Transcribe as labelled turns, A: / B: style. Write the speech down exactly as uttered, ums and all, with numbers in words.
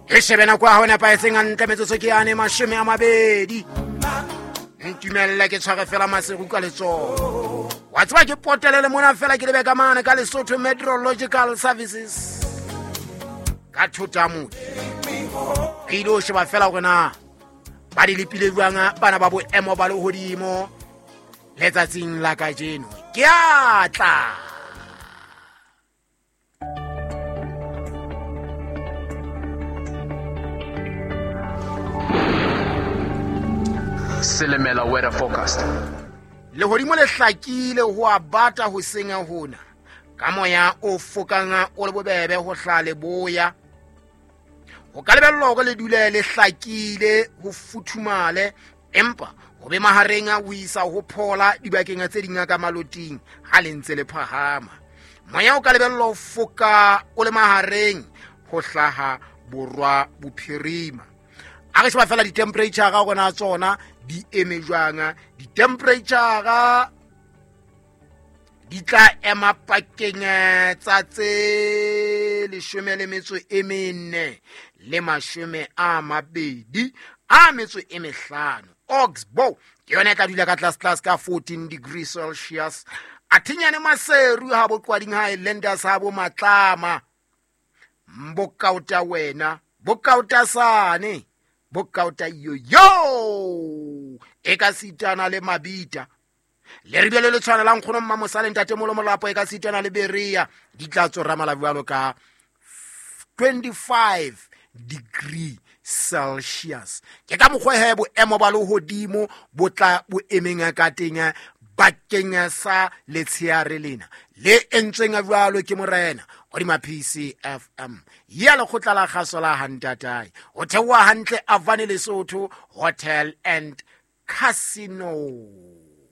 A: Re shebe nako ya hao nepahetseng hantle metsotso ke yane mashome a mabedi. Ntumelle ke tshware fela maseru ka letsoho. Wa tseba ke potelele mona fela ke lebe ka mane ka Lesotho Meteorological Services. Ka thota motho. Re ile ho sheba fela hore na ba di lepile jwang bana ba boemo ba lehodimo letsatsing la kajeno. Ke a tla.
B: Silimela weather forecast.
A: Lehodimo le hlakile ho a bata hoseng hona. Ka moya o fokang o le bobebe ho hla leboya. Ho ka lebellwa hore le dule le hlakile ho futhumale, empa ho be mahareng a ho isa ho phola dibakeng tse ding ka maloting ha le ntse le phahama. Moya o ka lebellwa ho foka o le mahareng ho hlaha borwa bophirima. A re sheba fela di-temperature ga gona tsona di eme jwang. Di-temperature di tla ema pakeng tsa tse leshome le metso e mene le mashome a mabedi a metso e mehlano. Oxbow ke yona e tla dula ka tlase tlase ka fourteen degrees Celsius. Athinyane Maseru ha bo Qwading Highlanders ha bo Matlama. Mbokaota wena, bokaota sane, bokaota yo yo. E ka sitana le Mabita. Le re bile le tshwana la nkgono mma Mosale ntate Molo Molapo e ka sitana le Berea. Di tla tsorama la jwalo ka twenty-five degree Celsius. Ke ka mokgwa he boemo ba lehodimo bo tla bo emeng ka teng bakeng sa letsheare lena le entsweng jwalo ke morena hodima P C F M ya lekgotla la kgaso la Hantatae. Ho theoha hantle Avane Lesotho Hotel and Casino.